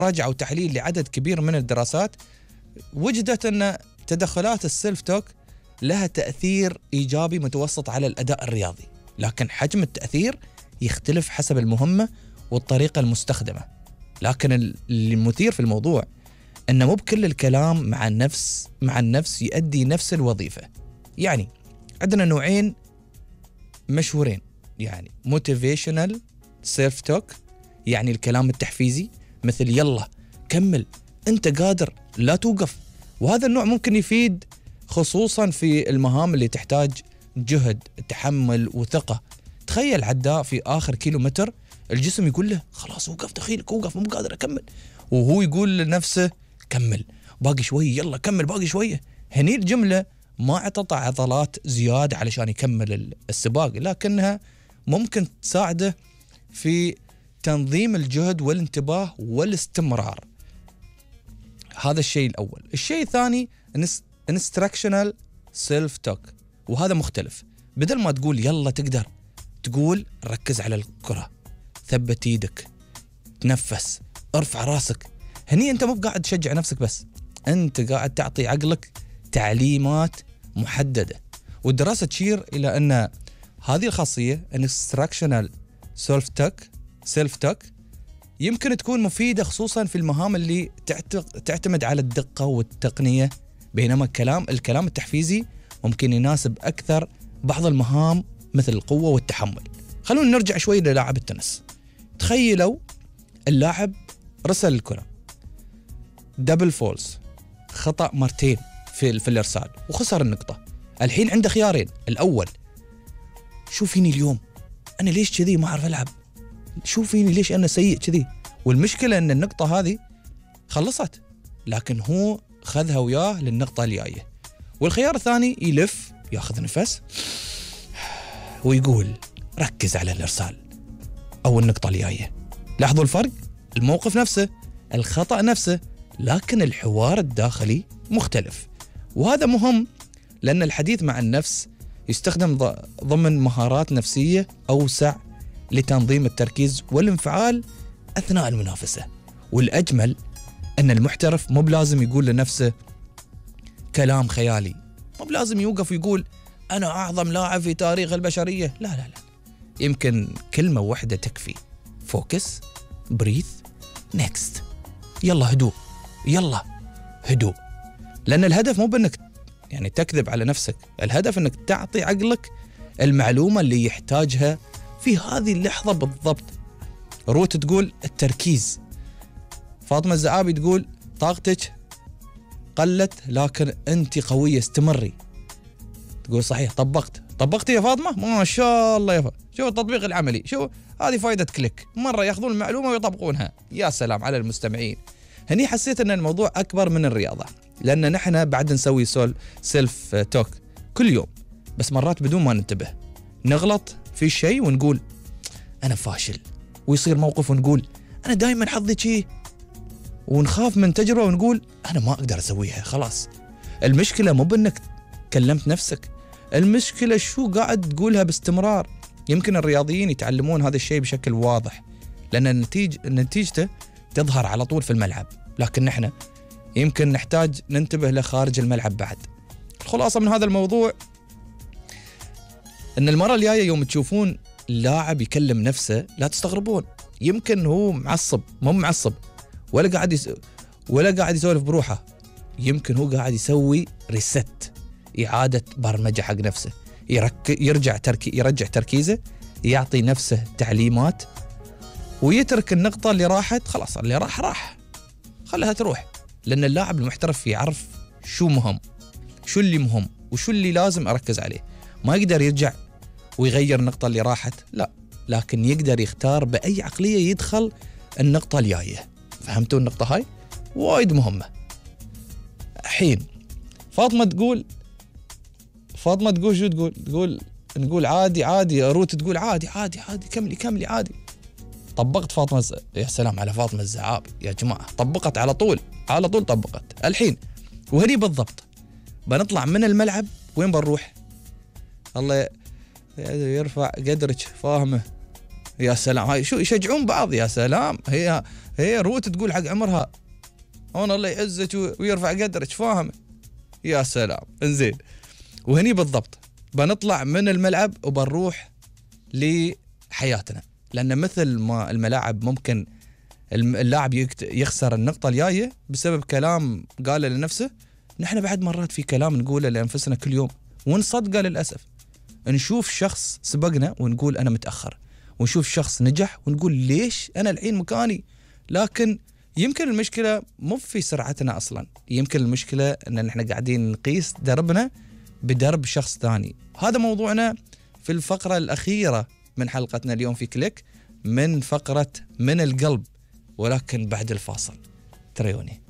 مراجعة وتحليل لعدد كبير من الدراسات وجدت أن تدخلات السيلف توك لها تأثير إيجابي متوسط على الأداء الرياضي، لكن حجم التأثير يختلف حسب المهمة والطريقة المستخدمة. لكن المثير في الموضوع أنه مو بكل الكلام مع النفس يؤدي نفس الوظيفة. يعني عندنا نوعين مشهورين، يعني motivational self talk، يعني الكلام التحفيزي مثل يلا كمل أنت قادر لا توقف، وهذا النوع ممكن يفيد خصوصا في المهام اللي تحتاج جهد تحمل وثقة. تخيل عداء في آخر كيلومتر الجسم يقول له خلاص وقف دخيلك وقف مو قادر أكمل، وهو يقول لنفسه كمل باقي شوية يلا كمل باقي شوية. هني الجملة ما اعطت عضلات زيادة علشان يكمل السباق، لكنها ممكن تساعده في تنظيم الجهد والانتباه والاستمرار. هذا الشيء الأول. الشيء الثاني instructional self talk، وهذا مختلف. بدل ما تقول يلا تقدر، تقول ركز على الكرة، ثبت ايدك، تنفس، ارفع راسك. هني انت مو قاعد تشجع نفسك بس، انت قاعد تعطي عقلك تعليمات محددة. والدراسة تشير إلى أن هذه الخاصية instructional self talk يمكن تكون مفيدة خصوصا في المهام اللي تعتمد على الدقة والتقنية، بينما الكلام التحفيزي ممكن يناسب أكثر بعض المهام مثل القوة والتحمل. خلونا نرجع شوي للاعب التنس. تخيلوا اللاعب رسل الكرة دبل فولز، خطأ مرتين في الإرسال وخسر النقطة. الحين عنده خيارين، الأول شو فيني اليوم، أنا ليش كذي ما أعرف ألعب، شو فيني ليش أنا سيء كذي. والمشكلة أن النقطة هذه خلصت، لكن هو خذها وياه للنقطة الجاية. والخيار الثاني يلف ياخذ نفس ويقول ركز على الإرسال أو النقطة الجاية. لاحظوا الفرق، الموقف نفسه، الخطأ نفسه، لكن الحوار الداخلي مختلف. وهذا مهم لأن الحديث مع النفس يستخدم ضمن مهارات نفسية أوسع لتنظيم التركيز والانفعال أثناء المنافسة. والأجمل أن المحترف مو بلازم يقول لنفسه كلام خيالي، مو بلازم يوقف ويقول أنا أعظم لاعب في تاريخ البشرية. لا لا لا، يمكن كلمة واحدة تكفي، فوكس، بريث، نيكست، يلا هدوء، يلا هدوء. لأن الهدف مو بأنك يعني تكذب على نفسك، الهدف أنك تعطي عقلك المعلومة اللي يحتاجها في هذه اللحظة بالضبط. روت تقول التركيز، فاطمة الزعابي تقول طاقتك قلت لكن أنت قوية استمري. تقول صحيح، طبقت يا فاطمة، ما شاء الله يا فاطمة، شوف التطبيق العملي، شوف هذه فائدة كليك، مرة يأخذون المعلومة ويطبقونها. يا سلام على المستمعين. هني حسيت أن الموضوع أكبر من الرياضة، لأن نحن بعد نسوي سيلف توك كل يوم، بس مرات بدون ما ننتبه نغلط في شيء ونقول أنا فاشل، ويصير موقف ونقول أنا دائما حظي شيء، ونخاف من تجربة ونقول أنا ما أقدر أسويها خلاص. المشكلة مو بأنك كلمت نفسك، المشكلة شو قاعد تقولها باستمرار. يمكن الرياضيين يتعلمون هذا الشيء بشكل واضح لأن نتيجته تظهر على طول في الملعب، لكن نحن يمكن نحتاج ننتبه له خارج الملعب بعد. الخلاصة من هذا الموضوع أن المرة الجاية يوم تشوفون لاعب يكلم نفسه لا تستغربون، يمكن هو معصب، مو معصب ولا قاعد يسولف بروحه، يمكن هو قاعد يسوي ريست، إعادة برمجة حق نفسه، يرجع تركيزه، يعطي نفسه تعليمات ويترك النقطة اللي راحت. خلاص اللي راح خلها تروح، لأن اللاعب المحترف يعرف شو مهم، شو اللي مهم وشو اللي لازم أركز عليه. ما يقدر يرجع ويغير النقطة اللي راحت، لا، لكن يقدر يختار بأي عقلية يدخل النقطة الجاية. فهمتوا النقطة هاي؟ وايد مهمة. حين فاطمة تقول شو نقول عادي، روت تقول عادي كملي عادي. طبقت فاطمة يا سلام على فاطمة الزعابي يا جماعة، طبقت على طول طبقت. الحين وهني بالضبط بنطلع من الملعب، وين بنروح؟ الله يرفع قدرك، فاهمه؟ يا سلام، هاي شو يشجعون بعض، يا سلام. هي هي روت تقول حق عمرها انا الله يعزك ويرفع قدرك، فاهم؟ يا سلام. انزين، وهني بالضبط بنطلع من الملعب وبنروح لحياتنا، لان مثل ما الملاعب ممكن اللاعب يخسر النقطة الجاية بسبب كلام قاله لنفسه، نحن بعد مرات في كلام نقوله لأنفسنا كل يوم ونصدقه للأسف. نشوف شخص سبقنا ونقول أنا متأخر، ونشوف شخص نجح ونقول ليش أنا الحين مكاني. لكن يمكن المشكلة مو في سرعتنا أصلا، يمكن المشكلة أن نحن قاعدين نقيس دربنا بدرب شخص ثاني. هذا موضوعنا في الفقرة الأخيرة من حلقتنا اليوم في كليك، من فقرة من القلب، ولكن بعد الفاصل. تريوني.